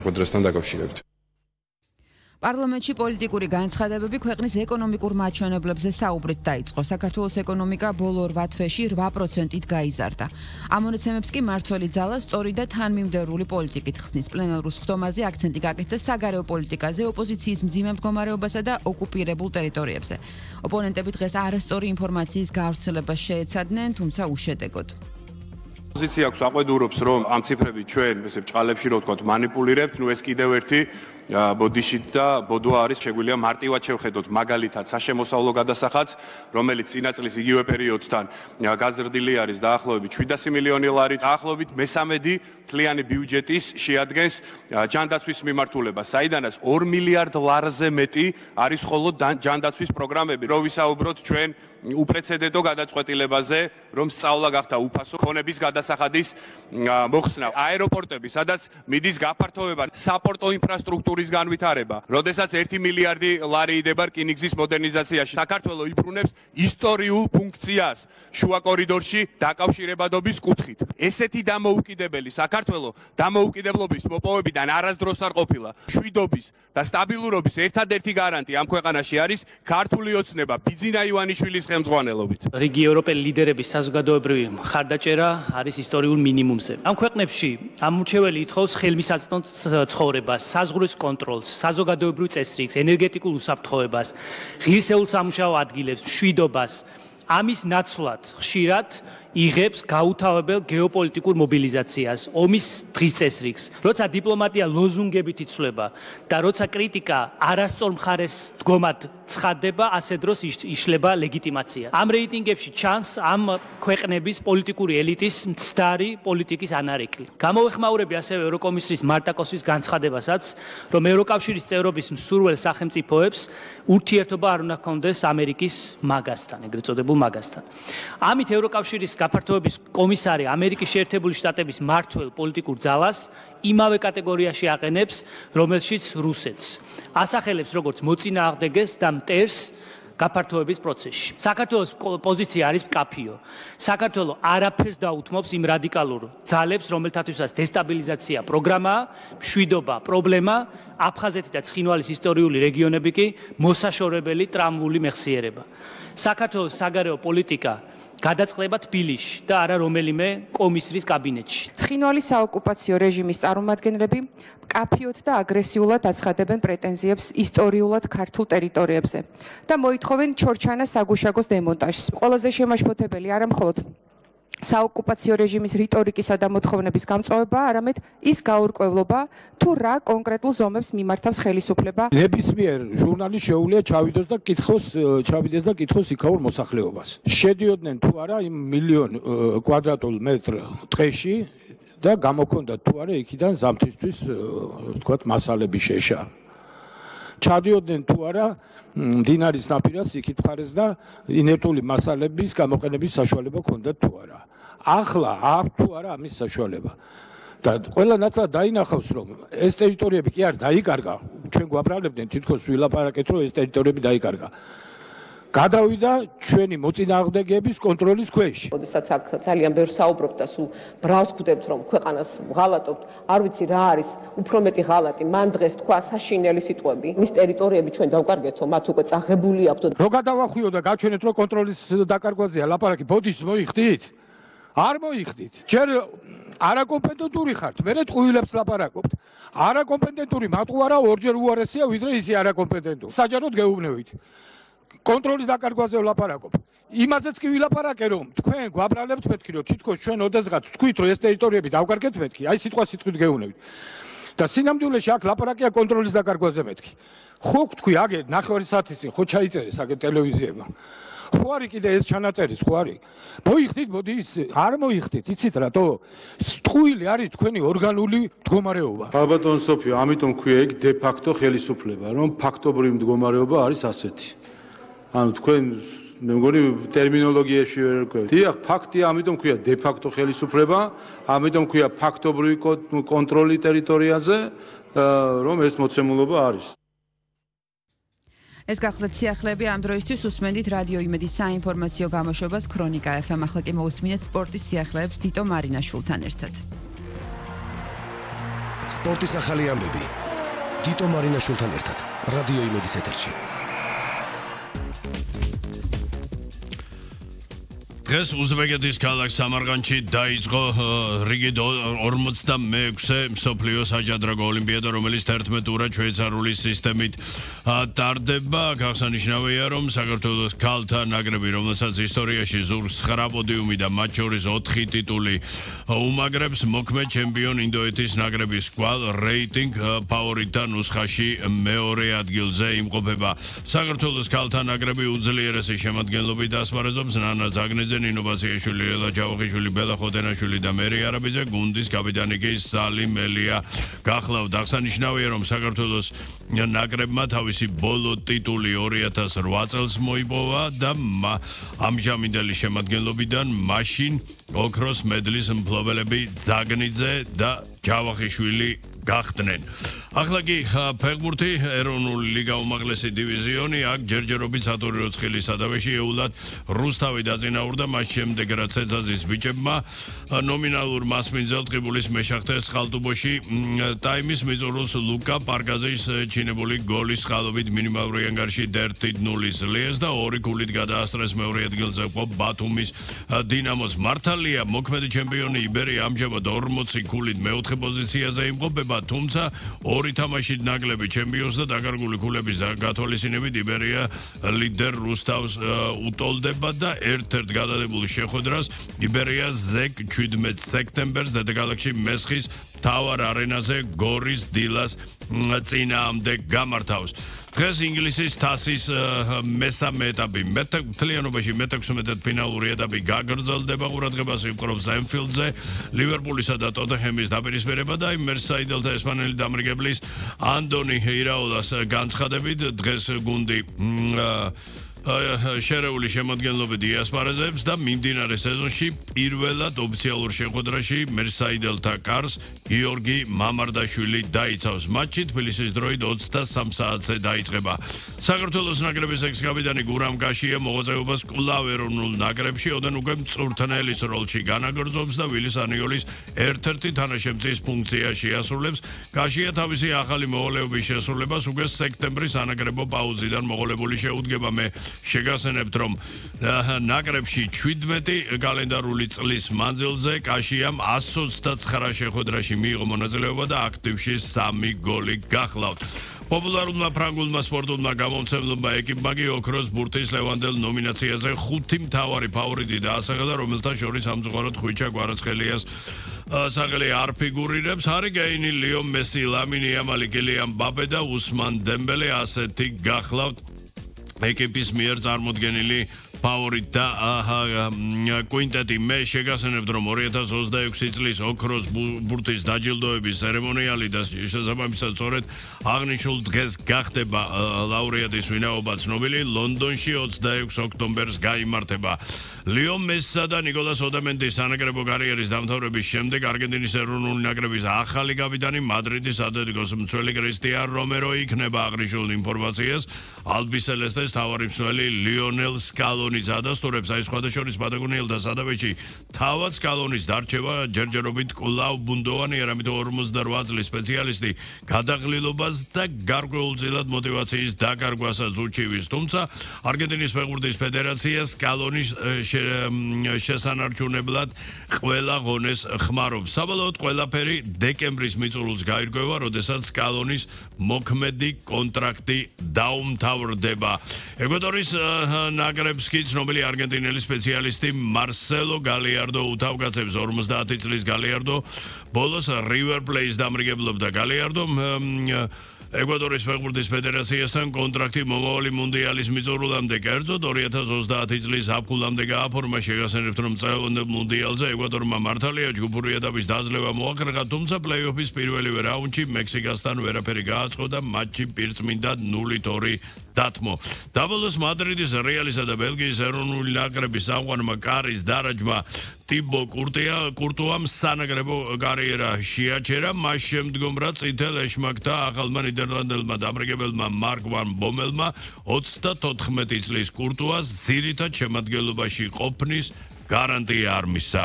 Ხოდრესთან დაკავშირებით. პარლამენტში პოლიტიკური განცხადებები ქვეყნის ეკონომიკურ მაჩვენებლებზე საუბრით დაიწყო. საქართველოს ეკონომიკა ბოლო 8 თვეში 8%-ით გაიზარდა. ამ მონაცემებს კი მმართველი ძალა სწორი და თანმიმდევრული პოლიტიკით ხსნის. პლენარულ სხდომაზე აქცენტი გაკეთდა საგარეო პოლიტიკაზე, ოპოზიციის მძიმე მდგომარეობასა და ოკუპირებულ ტერიტორიებზე. ოპონენტები დღეს არასწორი ინფორმაციის გავრცელებას შეეცადნენ, თუმცა უშედეგოდ. Ოპოზიცია აქვს აყვედურობს, რომ ამ ციფრებით ჩვენ ესე ბჭყალებში რო ვთქვათ მანიპულირებთ, ეს კიდევ ერთი ბოდიშით და ბოდვა არის, შეგვიძლია მარტივად შევხედოთ მაგალითად საშემოსავლო გადასახადს, რომელიც წინა წლის იგივე პერიოდთან გაზრდილი არის დაახლოებით 700 მილიონი ლარი, დაახლოებით მესამედი მთლიანი ბიუჯეტის შეადგენს ჯანდაცვის მიმართულება, საიდანაც 2 მილიარდ ლარზე მეტი არის მხოლოდ ჯანდაცვის პროგრამები. რო ვისაუბროთ ჩვენ უპრეცედენტო გადაწყვეტილებაზე, რომ სწავლა გახდა უფასო ქონების გადასახადის მოხსნა, აეროპორტები, სადაც მიდის გაფართოება, საპორტო ინფრასტრუქტურის განვითარება, როდესაც 1 მილიარდი ლარი იდება რკინიგზის მოდერნიზაციაში. საქართველოს იბრუნებს ისტორიულ ფუნქციას შუა კორიდორში დაკავშირებადობის კუთხით. ესეთი დამოუკიდებელი საქართველოს დამოუკიდებლობის მოპოვებიდან არასდროს არ ყოფილა. შვიდობის და სტაბილურობის ერთადერთი გარანტი ამ ქვეყანაში არის ქართული ოცნება ბიძინა ივანიშვილის ხელმძღვანელობით. რიგი ევროპელი ლიდერების საზოგადოებრივი მხარდაჭერა არის ისტორიულ მინიმუმზე. ამ ქვეყნებში ამორჩეველი ითხოვს ხელმისაწვდომ ცხოვრებას, საზღვრის კონტროლს, საზოგადოებრივ წესრიგს, ენერგეტიკულ უსაფრთხოებას, ღირსეულ სამუშაო ადგილებს, მშვიდობას. ამის ნაცვლად ხშირად იღებს გაუთავებელ გეოპოლიტიკურ მობილიზაციას, ომის დღის წესრიგს. როცა დიპლომატია ლოზუნგებით იცვლება და როცა კრიტიკა არასწორ მხარეს დგომად ცხადდება, ასე დროს იშლება ლეგიტიმაცია. ამ რეიტინგებში ჩანს ამ ქვეყნების პოლიტიკური ელიტის მცდარი პოლიტიკის ანარეკლი. გამოვეხმაურები ასევე ევროკომისიის მარტაკოსის განცხადებასაც, რომ ევროკავშირის წევრობის მსურველ სახელმწიფოებს ურთიერთობა არ უნდა ჰქონდეს ამერიკის მაგასთან, ეგრეთ წოდებულ მაგასთან. ამით ევროკავშირის გაფართოების კომისარი ამერიკის შეერთებული შტატების მმართველ პოლიტიკურ ძალას იმავე კატეგორიაში აყენებს, რომელშიც რუსეთს. ასახელებს როგორც მოწინააღმდეგეს და მტერს გაფართოების პროცესში. საქართველოს პოზიცია არის მკაფიო. საქართველოს არაფერს დაუთმობს იმ რადიკალურ ძალებს, რომელთათვისაც დესტაბილიზაცია პროგრამაა, მშვიდობა პრობლემა, აფხაზეთი და ცხინვალის ისტორიული რეგიონები კი მოსაშორებელი ტრამვული მეხსიერება. საქართველოს საგარეო პოლიტიკა გადაწყდება თბილისში და არა რომელიმე კომისრის კაბინეტში. ცხინვალის საოკუპაციო რეჟიმის წარმომადგენლები მკაფიოდ და აგრესიულად აცხადებენ პრეტენზიებს ისტორიულად ქართულ ტერიტორიებზე და მოითხოვენ ჩორჩანას საგუშაგოს დემონტაჟს. ყველაზე შემაშფოთებელი არა მხოლოდ საოკუპაციო რეჟიმის რიტორიკისა და მოთხოვნების გამწვავება, არამედ ის გაურკვევლობა, თუ რა კონკრეტულ ზომებს მიმართავს ხელისუფლება. ნებისმიერ ჟურნალის შეუძლია ჩავიდეს და კითხოს იქაურ მოსახლეობას. შედიოდნენ თუ არა იმ მილიონ კვადრატულ მეტრ ტყეში და გამოქონდა თუ არა იქიდან ზამთრისთვის ვთქვათ მასალები შეშა. ჩადიოდნენ თუ არა მდინარის ნაპირას იქით მხარეს და ინერტული მასალების გამოყენების საშუალება ჰქონდათ თუ არა. ახლა აქვს თუ არა ამის საშუალება. და ყველა ნათლად დაინახავს, რომ ეს ტერიტორიები კი არ დაიკარგა. ჩვენ გვაბრალებდნენ თითქოს ვილაპარაკეთ, რომ ეს ტერიტორიები დაიკარგა. გადავიდა ჩვენი მოწინააღმდეგეების კონტროლის ქვეშ. როდესაც აქ ძალიან ბევრ საუბრობთ და სულ ბრავს ხვდებთ, რომ ქვეყანას ვღალატობთ, არ ვიცი რა არის უფრო მეტი ღალატი. მან დღეს თქვა საშინელი სიტყვები. მის ტერიტორიები ჩვენ დავკარგეთო, მათ უკვე წაღებული აქვთ. რო გადავახვიო და გაჩვენეთ, რომ კონტროლის დაკარგვაზეა ლაპარაკი, ბოდიშს მოიხდით? არ მოიხდით. ჯერ არაკომპეტენტური ხართ, მერე ტყუილებს ლაპარაკობთ. არაკომპეტენტური მატყუარა ორჯერ უარესია, ვიდრე ისი არაკომპეტენტური. საჯაროდ გეუბნევით. კონტროლის დაკარგვაზე ვლაპარაკობ. იმაზეც კი ვილაპარაკე, რომ თქვენ გვაბრალებთ მეთქი, რომ თითქოს ჩვენ ოდესღაც თქვით, რომ ეს ტერიტორიები დავკარგეთ მეთქი, აი სიტყვა სიტყვით გეუბნევით. და სინამდვილეში აქ ლაპარაკია კონტროლის დაკარგვაზე მეთქი. ხო თქვი, აგე ნახევარი საათის წინ ხო ჩაიწერეს აგე ტელევიზიებმა. ხო არის კიდე ეს ჩანაწერის, ხო არის. მოიხდით, მოდი არ მოიხდით, იცით რატო? ტყუილი არის თქვენი ორგანული მდგომარეობა. ალბათონ სოფიო, ამიტომ ქვია იქ დე ფაქტო ხელისუფლება, რომ ფაქტობრივი მდგომარეობა არის ასეთი. ანუ თქვენ მე მგონი ტერმინოლოგიაში ვერ ვქქვევთ. დიახ, ფაქტია, ამიტომ ქვია დე ფაქტო ხელისუფლება, ამიტომ ქვია ფაქტობრივი კონტროლი ტერიტორიაზე, რომ ეს მოცემულობა არის. ეს გახლდათ სიახლეები ამ დროისთვის უსმენდით რადიო იმედის საინფორმაციო გამოშვებას ქრონიკა FM. ახლა კი მოусმინეთ სპორტის სიახლეებს დიტო მარინაშვილთან ერთად. სპორტის ახალი ამბები. თიტო მარინაშვილთან ერთად რადიო იმედის ეთერში. დღეს უზბეკეთის ქალაქ სამარყანდში დაიწყო რიგით 46-ე მსოფლიო საჯადრაგო ოლიმპიადა, რომელიც 11 ტურად შვეიცარიული სისტემით ტარდება. აღსანიშნავია, რომ საქართველოს ქალთა ნაკრები, რომელსაც ისტორიაში ზურგს 9 პოდიუმი და მათ შორის 4 ტიტული უმაგრებს, მოქმედ ჩემპიონ ინდოეთის ნაკრების კვალ რეიტინგ ფავორიტთა ნუსხაში მეორე ადგილზე იმყოფება. საქართველოს ქალთა ნაკრები უძლიერესი შემადგენლობით ასპარეზობს. ნანა ზაგნიძე, ნინო ბასიაშვილი, ელა ჯავახიშვილი, ბელა ხოდენაშვილი და მერი არაბიძე, გუნდის კაპიტანი კი სალიმ ელია გახლავთ. აღსანიშნავია, რომ საქართველოს ნაკრებმა თავისი ბოლო ტიტული 2008 წელს მოიპოვა და ამჟამინდელი შემადგენლობიდან მაშინ ოქროს მედლის მფლობელები ზაგნიძე და ჯავახიშვილი გახდნენ. ახლა კი ფეხბურთი, ეროვნული ლიგა უმაღლესი დივიზიონი, აქ ჯერჯერობით სატური როცხილის სადავეში ეულად რუსთავი დაწინაურდა, მას შემდეგ რაც ეძაძის ბიჭებმა ნომინალურ მასმინძელ ტყიბულის მეშახტეს ხალტუბოში ტაიმის მიწურულს ლუკა პარკაზეის ჩინებული გოლის ხალობით მინიმალური ანგარში 1-0 ლიეს და 2 გოლით გადაასწრეს მეორე ადგილზე ბათუმის დინამოს. მართალია, მოქმედი ჩემპიონი იბერია ამჟამად 40 გოლით მეოთხე პოზიციაზე იმყოფება, თუმცა ორი თამაშით ნაკლები ჩემპიონს და დაკარგული გულების გათვალისწინებით იბერია ლიდერ რუსთავს უტოლდება და ერთ-ერთ გადადებულ შეხვედრას იბერია ზეკ 17 სექტემბერს დედაქალაქში მესხის თავარ არენაზე გორის დილას წინააღმდეგ გამართავს. დღეს ინგლისის თასის მესამე ეტაპი მთლიანობაში მე-16 ეტაპი გაგრძელდება. ყურადღებას იპყრობს ემფილდზე ლივერპულისა და ტოტენჰემის დაპირისპირება და მერსაიდელთა ესპანელი დამრიგებლის ანდონი ირაოლას განცხადებით დღეს გუნდი შერეული შემადგენლობით იასპარეზებს და მიმდინარე სეზონში პირველად ოფიციალურ შეხვედრაში მერსაიდელთა კარს გიორგი მამარდაშვილი დაიცავს. მატჩი თბილისის დროით 23 საათზე დაიწყება. საქართველოს ნაკრების ექს-კაპიტანი გურამ კაშია მოღვაწეობას კვლავ ეროვნულ ნაკრებში ოდენ უკვე მწვრთნელის როლში განაგრძობს და ვილის ანიოლის ერთ-ერთი თანაშემწის ფუნქცია შეასრულებს. კაშია თავისი ახალი მოვალეობის შესრულებას უკვე სექტემბრის ანაკრებო პაუზიდან მოყოლებული შეუდგება. მე შეგახსენებთ, რომ ნაკრებში 17 კალენდარული წლის მანძილზე კაშიამ 129 შეხვედრაში მიიღო მონაწილეობა და აქტივში 3 გოლი გახლავთ. პოპულარულმა ფრანგულმა სპორტულმა გამომცემლობა ეკიპმა კი ოქროს ბურთის ლევანდელ ნომინაციაზე 5 მთავარი ფავორიტი დაასახელა, რომელთა შორის ამზღვარად ხვიჩა კვარაცხელიას საღელი არ ფიგურირებს. ჰარი კეინი, ლიო მესი, ლამინი იამალი, კილიან მბაპე და უსმან დემბელე ასეთი გახლავთ ეკიპის მიერ წარმოდგენილი ფავორიტ და კვინტეტი. მე შეგახსენებთ, რომ 2026 წლის ოქროს ბურთის დაჯილდოების ცერემონიალი და შესაბამისად სწორედ აღნიშნულ დღეს გახდება ლაურეატის ვინაობა ცნობილი. ლონდონში 26 ოქტომბერს გაიმართება. ლიო მესსა და ნიკოლას ოდამენტის სანაკრებო კარიერის დამთავრების შემდეგ არგენტინის ეროვნული ნაკრების ახალი კაპიტანი მადრიდის ატლეტიკოს მცველი კრისტიან რომერო იქნება. აღნიშნულ ინფორმაციას ალბისელესტეს თავარი მცველი ლიონელ სკალონიც ადასტურებს. აი სხვადასხვა პატაგონიელთა სადავეში თავად სკალონის დარჩება ჯერჯერობით კვლავ ბუნდოვანი, არამედ 48 წლის სპეციალისტი გადაღლილობას და გარკვეულწილად მოტივაციის დაკარგვასაც უჩივის. თუმცა არგენტინის ფეხბურთის ფედერაცია სკალონის შესანარჩუნებლად ყველა ღონეს ხმარობს. საბოლოოდ ყველაფერი დეკემბრის მიწურულს გაირკვევა, როდესაც სკალონის მოქმედი კონტრაქტი დაუმთავრდება. ეკვადორის ნაკრებს კი ცნობილი არგენტინელი სპეციალისტი მარსელო გალიარდო უთავკაცებს. 50 წლის გალიარდო ბოლოს რივერ პლეის დამრიგებლობდა. გალიარდო ეკვადორის ფეხბურთის ფედერაციასთან კონტრაქტი მომავალი მუნდიალის მიწურულამდე, კერძოდ 2030 წლის აპრილამდე გააფორმა. შეგახსენებთ, რომ წელიწადურ მუნდიალზე ეკვადორმა მართალია ჯგუფური ეტაპის დაძლევა მოახერხა, თუმცა პლეი-ოფის პირველივე რაუნდში მექსიკასთან ვერაფერი გააწყო და მატჩი პირწმინდა 0-2 დათმო. დაბოლოს მადრიდის რეალისა და ბელგიის ეროვნული ნაკრების სამყარომა კარის დარაჯმა ტიბო კურტუამ სანაკრებო კარიერა შეაჩერა. მას შემდგომ რაც წითელ ეშმაკთა ახალმა ნიდერლანდელმა დამრიგებელმა მარკ ვან ბომელმა 34 წლის კურტუას ძირითად შემადგენლობაში ყოფნის გარანტია არ მისცა.